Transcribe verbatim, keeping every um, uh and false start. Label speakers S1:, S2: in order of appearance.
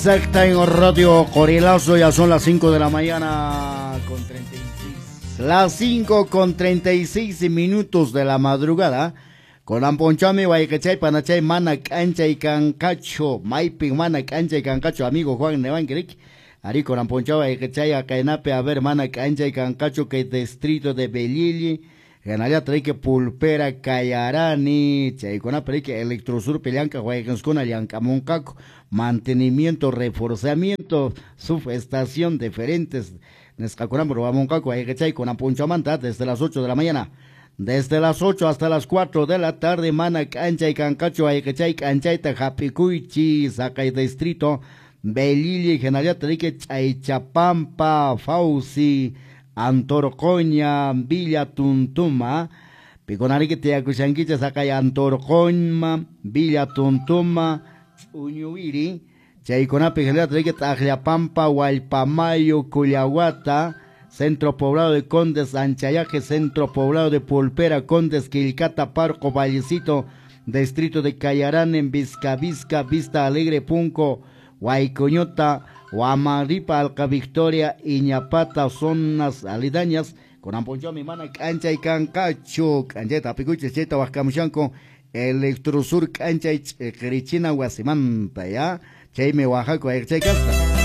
S1: Exacta en Radio Corilazo, ya son las cinco de la mañana con treinta y seis. Las cinco con treinta y seis minutos de la madrugada. Con amponchami wayqechay panachay mana k'anchay kanqachu, maypin mana k'anchay kanqachu, amigo Juan Nevanquirik. Ari con amponcha wayqechay akaynapi, a ver, mana k'anchay kanqachu kay distrito de Belili, hinallataq riki Pulpera Cayarani, chaykunapi riki Electrosur llank'aq wayqinskuna llank'amunqaku, mantenimiento, reforzamiento, subestación diferentes nisqakunapi ruwamunqaku wayqechay kunan p'unchawmanta desde las ocho de la mañana. Desde las ocho hasta las cuatro de la tarde, mana k'anchay kanqachu wayqechay k'anchayta hap'ikuychis, haqay distrito Belili, hinallataq riki Ch'aychapampa, Fauci, Antorcoña, Villa Tuntuma, pikunariki tiyakushankichis haqay Antorcoña, Villa Tuntuma, Ch'uñuwiri, chaykunapi hinallataq riki T'aqllapampa, Wallpamayo, Cullawata, Centro Poblado de Condes, Anchayaje, Centro Poblado de Pulpera, Condes, Quilcata, Parco, Vallecito, Distrito de Cayarán, en Vizca, Vizca, Vista Alegre, Punco, Huaycoñota, Huamaripa, Alca Victoria, Iñapata, zonas aledañas, con amponcho mi mana k'anchay kanqachu, k'anchayta hap'ikuychis, chayta waqkamushanku Electrosur k'anchay ch'iqirichina wasimanta, ya, chaymi Oaxaca ayqchay kasqa.